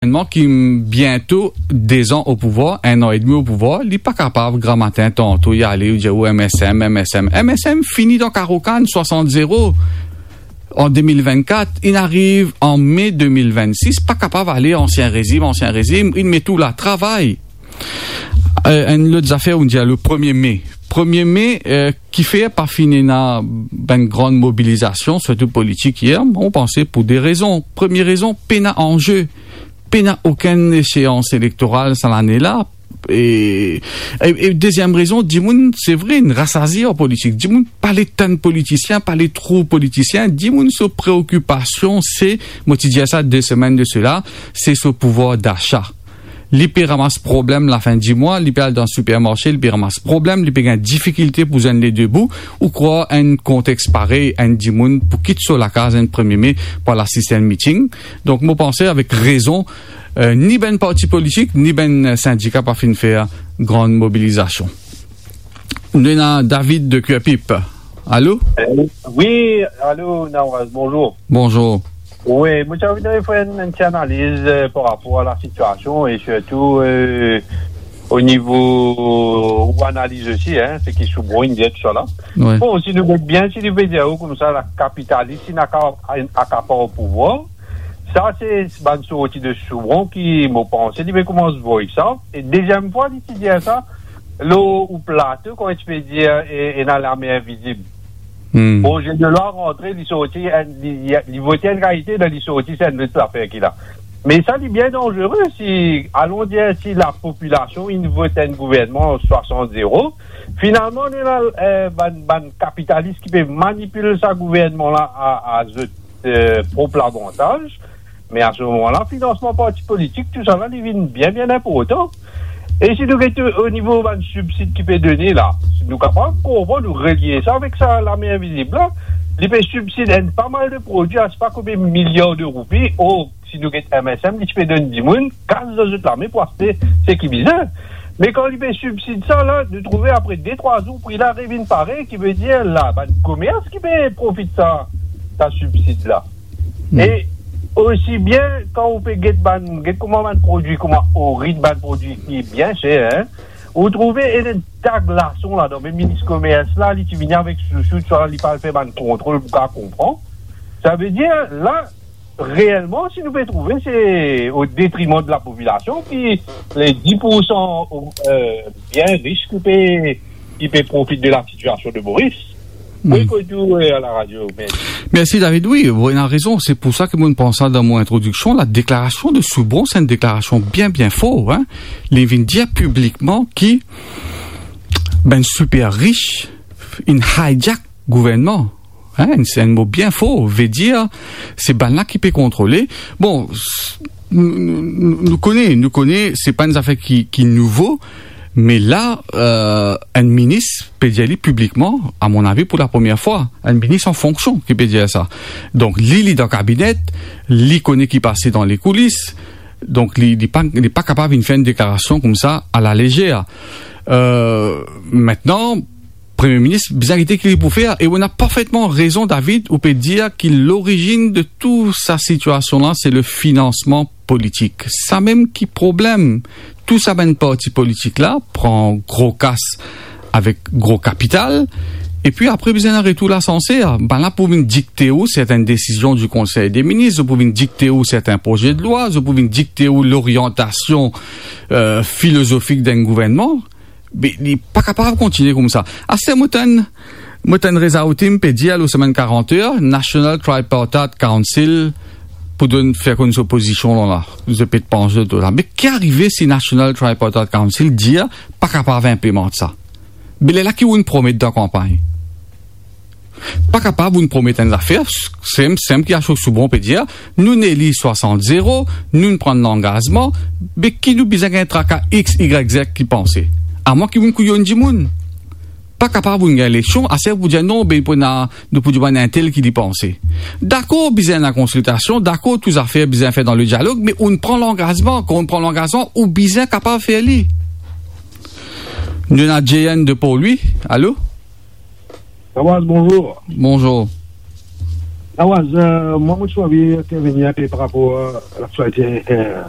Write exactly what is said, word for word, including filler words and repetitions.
gouvernman ki biento de zan o pouvwar, enn an edmi o pouvwar, li pa kapav gramatin tanto li ale, li dir ou M S M, M S M. M S M fini dan karo kann, swasant zero an de mil vennkat, inn ariv an me de mil vennsis, pa kapav ale ansien rezim, ansien rezim, inn met ou la, travay. Eh, enn lot zafer, ou dir le premie me. Premie me, eh, kifer pa finn ena bann gran mobilizasion, sirtou politik yer, mo panse pou de rezon. Premie rezon, pena anze, pena okenn eseans elektoral sa lane la. E, e, e deziem rezon, dimoun, se vre, inn rasazi ar politik. Dimoun pa le tann politisien, pa le trouv politisien. Dimoun so preokipasion se, mo ti dir sa de semenn de sela, se so pouvwar dasa. Li pe ramas problem lafin di mwa, li pe al dan sipermarse, li pe ramas problem, li pe gagn difikilte pou zwenn le de bou. Ou krwar enn kontex parey, enn dimoun pou kit so lakaz enn premie me pou al asist enn miting? Donk, mo panse avek rezon, eh, ni bann parti politik, ni bann sindika pa finn fer gran mobilizasion. Nou ena David de Curepipe. Alo? Eh, wi, alo, Nawaz, bonzour. Bonzour. Wi, mo ti anvi fer enn, enn ti analiz, eh, par rapor a lasitiasion e sirtou, eh, o nivo ou analiz osi, hein, seki Soubron inn dir tousala. Wi. Bon, si nou get bien, si nou pe dir ou koumsa, la kapitalis inn aka-, inn akapar pouvwar, sa se bann sorti de Soubron ki, mo panse, li pe koumans voy sa. E deziem fwa, li ti dir sa, lor ou plato, kouma ti pe dir, e, ena lame invizib. Hmm. Proze de lwa rantre, li sorti, enn, li, li, li vote enn kalite, dan li sorti, se enn lot zafer ki la. Me sa, li bien danzere, si, alon dir, si lapopilasion inn vot enn gouvernman swasant zero, finalman, nou ena, eh, bann, bann kapitalis ki pe manipil sa gouvernman la a, a zot, eh, prop lavantaz. Me a se moman la, finansman parti politik, tousala, li vinn bien, bien inportan. E si nou get o nivo bann sibsid ki pe done la, si nou kapav konpran, nou relie sa avek sa lame invizib la, li pe sibsid enn pa mal de prodwi, a sipa konbien miliar de roupi, or, si nou get M S M, li ti pe donn dimoun kas dan zot lame pou aste seki bizin. Me kan li pe sibsid sa la, nou trouve apre de, trwa zour, pri la revinn parey, ki ve dir la, bann komers ki pe profit sa, sa sibsid la. Hmm. E osi bien, kan ou pe get bann, get kouma bann prodwi, kouma orin, bann prodwi ki bien ser, hein, ou trouve ena enn ta glason ladan. Me minis komers la, li ti vini avek sousou, sa, li pa al fer bann kontrol pou kapav konpran. Sa ve dir, la, reelman, si nou pe trouve, se o detriman de lapopilasion, ki le dis pour san, eh, bien ris ki pe, ki pe profit de lasitiasion de Moris. Hmm. Wi, kot ou, eh, a laradio, me... Mersi, David. Wi, ou ena rezon. Se pou sa ki mo pran sa dan mo introdiksion. Ladeklarasion de Soubron, se enn deklarasion bien, bien for, hein. Li vinn dir piblikman ki bann siper ris inn hijack gouvernman. Hein, se enn mo bien for, ve dir, se bann la ki pe kontrole. Bon, s-, nou, nou, nou kone, nou kone, se pa enn zafer ki, ki nouvo, me la, eh, enn minis pe dir li piblikman, a mon avi pou lapremier fwa, enn minis an fonksion ki pe dir sa. Donk, li, li dan kabinet, li kone ki pase dan lekoulis, donk li, li pa, li pa kapav vinn fer enn deklarasion koumsa a la lezer. Eh, mintnan, Premie Minis bizin gete ki li pou fer, e ou ena parfetman rezon, David, ou pe dir ki lorizinn de tou sa sitiasion la, se le finansman politik. Samem ki problem, tou sa bann parti politik la pran gro kas avek gro kapital, epi apre bizin ena retour lasanser. Bann la pou vinn dikte ou sertin desizion di Konsey de Minis, zot pou vinn dikte ou sertin proze de lwa, zot pou vinn dikte ou loriantasion, eh, filozofik dan enn gouvernman. Be, li pa kapav kontigne koumsa. Aster mo tann, mo tann Reza Hatim pe dir lor Semaine quarante Heures, National Tripartite Council pou donn, fer konn so pozision la, la. Zot pe pans zot la. Me ki arive si National Tripartite Council dir pa kapav inplimant sa? Be lerla ki ou'nn promet dan kanpagn? Pa kapav ou'nn promet enn zafer, sem, sem ki Ashok Soubron pe dir, nou'nn eli swasant zero, nou'nn pran langazman, be ki nou bizin gagn traka X, Y, Z ki panse? Amwin ki ou'nn kouyonn dimoun. Pa kapav ou'nn gagn eleksion, aster pou dir non, be pou ena, nou pou dir bann entel ki li panse. Dakor, bizin ena konsiltasion, dakor, tou zafer bizin fer dan le dialog, me ou'nn pran langazman, kan ou'nn pran langazman, ou bizin kapav fer li. Nou ena J N de Port-Louis, alo? Thomas, bonzour. Bonzour. Awaz, euh, mwa, mo ti anvi intervenir inpe par rapor, euh, laktialite, euh,